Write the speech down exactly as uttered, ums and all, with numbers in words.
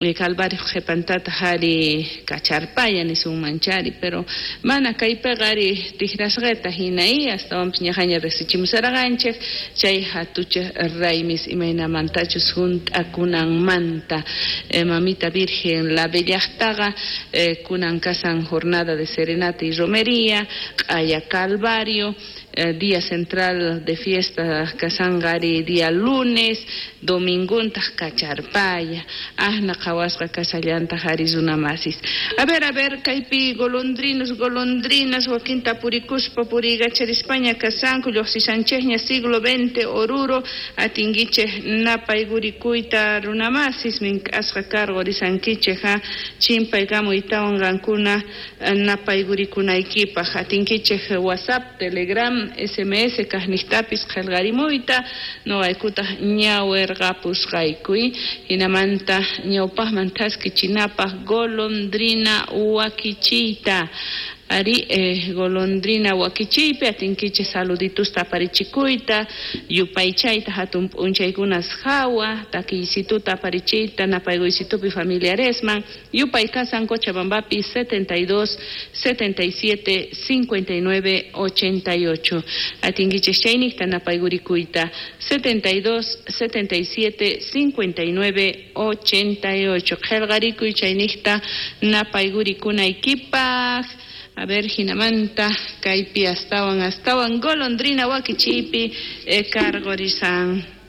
Calvario qhipantataq ari kacharpaya nisunmanchari, pero mana kaypiqa ari tikrasqita hina y astawanpis ñaqaña riqsichimusarqanchik chay hatuchaq raymis imaynamantachus hunt'akunanmanta. eh, Mamita Virgen la Bellaqtaqa eh, kunan kasan jornada de serenata y romería, q'aya Calvario, eh, día central de fiesta kasanqa ari día lunes, dominguntaq kacharpaya, ahna qhawasqa kasallantaq ari runamasis. A ver, a ver, kaypi golondrinos, golondrinas, wakinta purikuspa puriykacharispaña kasanku, lluqsishanchikña siglo veinte Oruro, atinkichik napaygurikuyta runamasis, mink'asqa karqurisankichik ha, chimpaykamuytawan qankuna napaygurikunaykipaq, atinkichik WhatsApp, Telegram, S M S kaqniqtapis qillqarimuyta, noqaykutaq ñawirqapusqaykuy, hinamanta ñawpaqman thaskichinapaq golondrina wakichiyta. Ari, eh, golondrina wakichiypi atinkichik saluditusta aparichikuyta, yupaychayta hatun p'unchaykunas hawa, takiysituta aparichiyta napaykuysitupi familiaresman, yupay kasan Cochabambapi setenta y dos, setenta y siete, cincuenta y nueve, ochenta y ocho. Atinkichik chayniqta napaygurikuyta setenta y dos, setenta y siete, cincuenta y nueve, ochenta y ocho. Qillqarikuy chayniqta napaygurikunaykipaq. A ver, hinamanta, kaypi astawan, astawan, golondrina wakichiypi, eh, karqurisan.